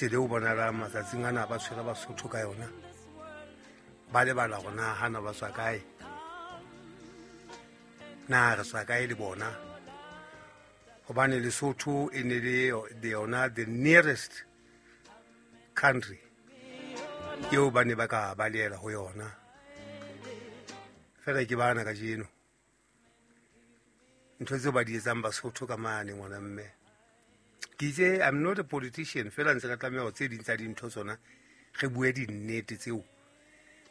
Tsela eo bonalang matsatsing ana ba tshwere Basotho ka yona, ba lebala gore na gana ba tswa kae, na re tswa kae le bona, gobane Lesotho e ne le yona the nearest country eo ba ne ba ka baleela go yona. Fela ke bana kajeno ntho tseo ba di etsang Basotho ka mane. Ngwana mme, ke itse I'm not a politician, fela ntse ka tlameha go tse ding tsa dintho tsona re bue dinnete tseo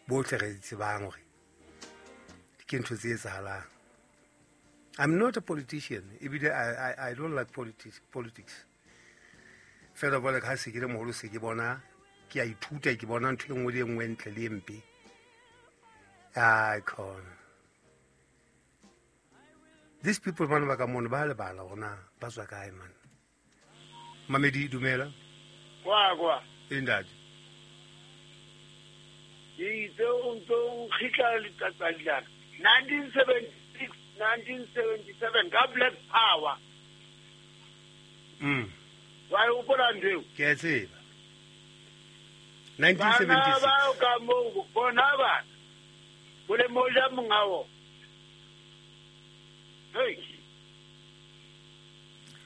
botlhe re di tsebang gore ke ntho tse etsahalang. I'm not a politician, ebile I don't like politics. Fela bole ka se ke le moholo, se ke bona, ke a ithuta, ke bona ntho e nngwe le e nngwe, ntle le e mpe. Ai khona, these people bana ba ka mono ba lebala gore na ba tswa kae man. Mamedi, dumela. Kwa kwa. E ntate. Ke itse o ntse o nkgitla letsatsi la 1976, 1977 ka Black Power. Wa e hopola ntho eo? Ke a tseba. Bana 1976. Bao ka moo bona bana bolemo ja monga wona. Hey.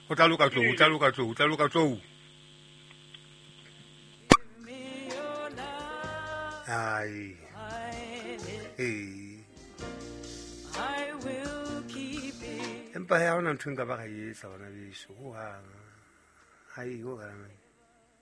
Go tla loka tlou, o tla loka tlou, o tla loka tlou. Ai ee, empa he, ha hona ntho e nka ba ka e etsa, bana beso, hohang. Ai, hohang.